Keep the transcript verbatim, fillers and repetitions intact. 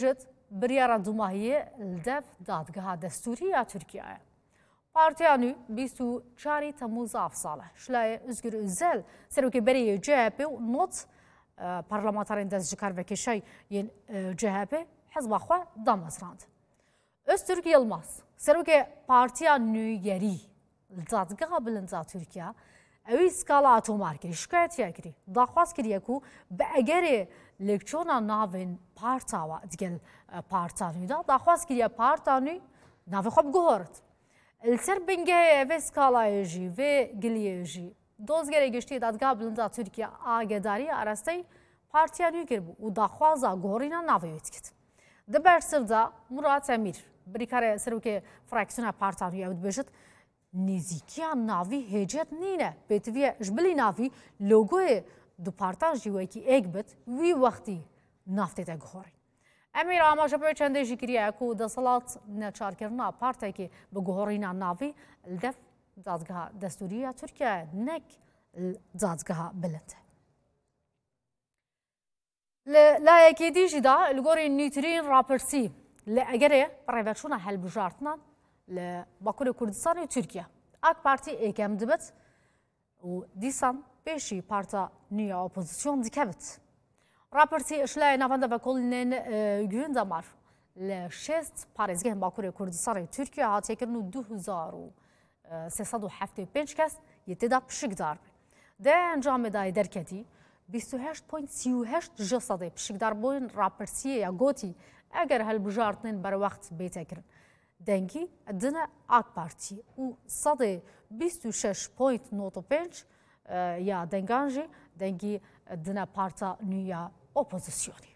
Jit biryara dumahiyê li dev dadgeha destûrî ya Tirkiyeyê. Partiya nû bîst û çarî Temmûz avsal e. Şilayê Özgür Özel, serokê berê yê C H P û not, e, parlamenterên dest ji kar vekêşay yên, e, C H P hizba xwe damezrand. Öztürk Yılmaz, serokê Partiya Nûgerî li Dadgeha Bilind a Tirkiye, ewî skala atomar kirî, şikayetiya kirî, daxwaz kiriye ku bi egerê lêkçona navên parta wa digel, e, parta nû de, daxwaz kiriye parta nû navê xwe biguhorit. Li ser bingehê vê skalayê jî, vê giliyê jî, Dozgerê Giştî Dadgeha Bilind a Tirkiye agedarî arasteyî partiya nû kiribû û daxwaza guhorîna navê wê dikit. Di bersiv de Murat Emîr, birîkarê serokê fraksiyona parta nû ye, ew dibêjit, nêzîkiya navî hêcet nîne, pêtiviye ji bilî navî logoyê du partan jî wekî êk bit, wî wextî nav tête guhorîn. Emîr amaje bi çendê jî kiriye ku desthilat neçarkirina partekê bi guhorîna navî li dev dadgeha destûrî ya Tirkiye, nek li dadgeha bilind e. Li layekî dî jî de li gorî nûtirîn rapirsî li egerê rêveçûna helbijartinan li Bakurê Kurdistanê û Tirkiye, AK Partî êkem dibit û dîsan pêşî parta nû ya opozîsyon dikevit. Rapirsî ji layê Navenda Vekolînên, e, Gündamar li şêst parêzgehên Bakurê Kurdistanê û Tirkiye hatiye kirin û du hezar û sê sed û heftê û pênc kes yê tê de pişikdar bûn. Di encamê de yê derketî, bîst û heşt point sî û heşt ji sedê pişikdarbûn rapirsiyê ya gotî, eger hilbijartinên berwext bête kirin, dengî dine AK Partî û sedê bîst û şeş point nod û pênc, e, ya dengan jî dengî dine parta nû ya opozîsyonê.